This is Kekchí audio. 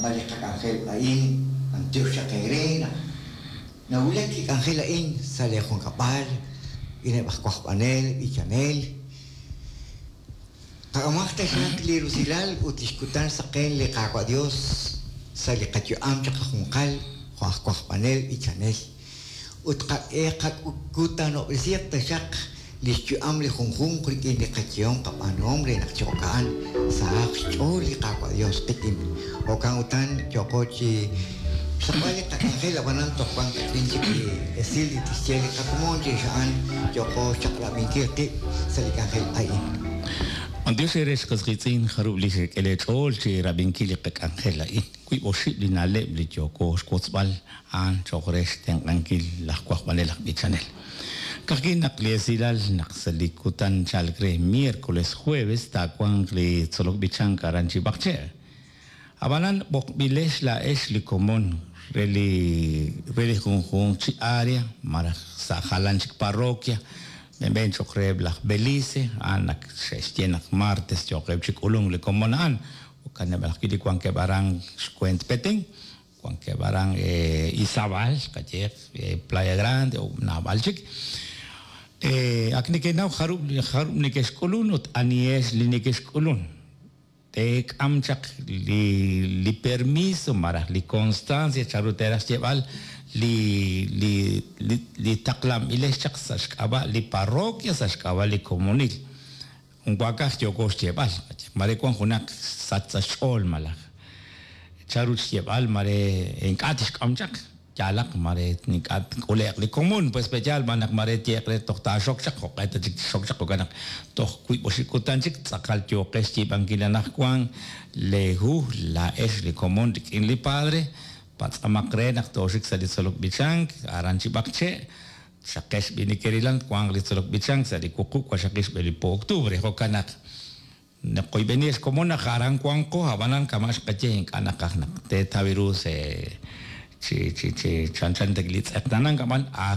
xraqb'al li qak'anjel a'in, b'antiox chaq eere naq nawulak li k'anjel a'in sa' lee junkab'al, rik'ineb' aj wajb'anel, b'ichanel. Qak'amaq taxaq li rusilal ut lix kutan saqen li Qaawa' Dios sa' li qayu'am chiqajunqal jo' aj wajb'anel, b'ichanel. Ut qak'e qakutanob'resiiq taxaq lix yu'am li junjunq rik'in li qayehom qab'aanuhom re naq chi jo'ka'an sahaq xch'ool li Qaawa' Dios qik'in. Jo'kan utan yooqo chi xraqb'al li qak'anjel ab'anan toj wan kach'in chik li esil li tixye li qakomon chirix a'an yooqo xchaq'rab'inkil qib' sa' li k'anjel a'in. B'antiox eere ex qas qiitz'in jarub' li xek'e lee ch'ool chi rab'inkil li qak'anjel a'in. Wiib' oxib' li na'leb' li yooko xwotzb'al a'an cho'q re xtenq'ankil laj wajb'anel aj b'ichanel. Ka'ajwi' naq li esilal naq sa' li kutan chalk re miércoles jueves taawanq li tzolok b'ichank aran chi B'aqche'. Ab'anan b'oqb'ilex laa'ex li komon re li re li junjunq chi area malaj sa' jalan chik parroquia, b'enb'en cho'q reheb' laj Belice, a'an ak xe'xye naq martes yooqeb' chi k'ulunk li komon a'an, jo'kaneb' ajwi' li wankeb' aran xweent Petén, wankeb' aran Izabal, qayeeq Playa Grande o naab'al chik. Ak nekenaw jarub' jarub' nekexk'ulun ut anihex li nekexk'ulun. Teek'am chaq li li permiso malaj li constancia chanru teeraj xyeeb'al li li li li taqlanb'ilex chaq sa' xk'ab'a' li parroquia, sa' xk'ab'a' li komonil. Jun waakaj yooko xyeeb'al, mare wan junaq sach sa' xch'ool malaj chanru xyeeb'al mare ink'a' tixk'am chaq. Yaalaq mare ink'a' tk'ule'q li komon, pues pe'yaal b'an naq mare tyeeq re toj taaxok chaq, jo'q'e ta chik tixok chaq, jo'kan naq toj wiib' oxib' kutan chik tz'aqal yooqex xyiib'ankil anaqwan leehu laa'ex li komon rik'in li padre, patz'amaq re naq tooxik sa' li tzolok b'ichank aran chi B'aqche', xaqex b'i nekerilan twanq li tzolok b'ichank sa' li wuqub' waqxaqil xb'e li po octubre, jo'kan naq naqoyb'eni ex komon naq aran wanqo, ab'anan kama' xqaye ink'a' naqaj naq teetaw ru se chi chi chi chanchan ta li tz'eqtaanank ab'an.